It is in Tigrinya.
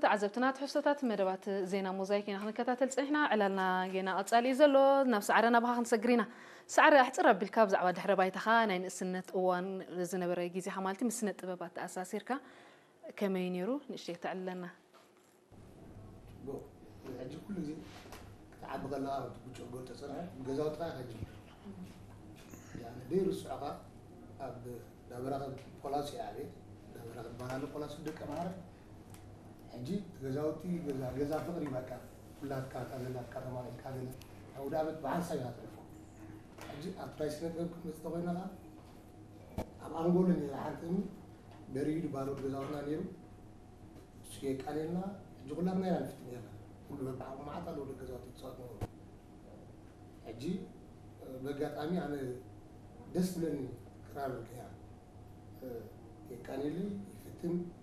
ተዓዘብትና፣ ትሕዝቶታት መደባት ዜና ሞዛይክ ኢና ክንከታተል ጸኒሕና። ዕላልና ጌና ቀጻሊ እዩ ዘሎ። ናብ ሰዓረ ናባኻ ክንሰግር ኢና። ሰዓረ፣ ኣሕጽር ኣቢልካ ብዛዕባ ድሕረ ባይታኻ፣ ናይ ንእስነት እዋን ዝነበረ ግዜኻ ማለት ምስ ስነ ጥበብ ኣተኣሳሲርካ ከመይ ነይሩ? ንእሽተይ ተዕልለና። ሕጂ ኩሉ ግዜ ክትዓቢ ከለካ ብጭጎ ተፀንሐ ገዛውትካ ከጅምር ደይ ርስዑካ ኣብ ዳበራኸ ፖላሲ ዓቤት ዳበራኸ ባናሉ ፖላሲ ደቀ ማዕረ ሕጂ ገዛውቲ ገዛ ገዛ ፍቅሪ በቃ ኩላትካ እታ ዘላትካ ተማሪሕካ ገለ ኣውደ ዓመት ብሓንሳብ ኢና ተሪፎ። ሕጂ ኣብ ትራይ ስነ ጥበብ ክትመፅእ ተኮይንካ ኣብ ኣንጎሎ ነይራ ሓንቲ እምኒ በሪዱ ባዶ ገዛውትና ነይሩ። እሱ የቃልየልና። ሕጂ ኩላትና ኢና ንፍትን ነርና። ኩሉ በብዓቕሙ መዓት ኣለዉ ደቂ ገዛውቲ ክፃወት ነበሩ። ሕጂ በጋጣሚ ኣነ ደስ ትብለኒ ክራር እያ። የቃልየለይ፣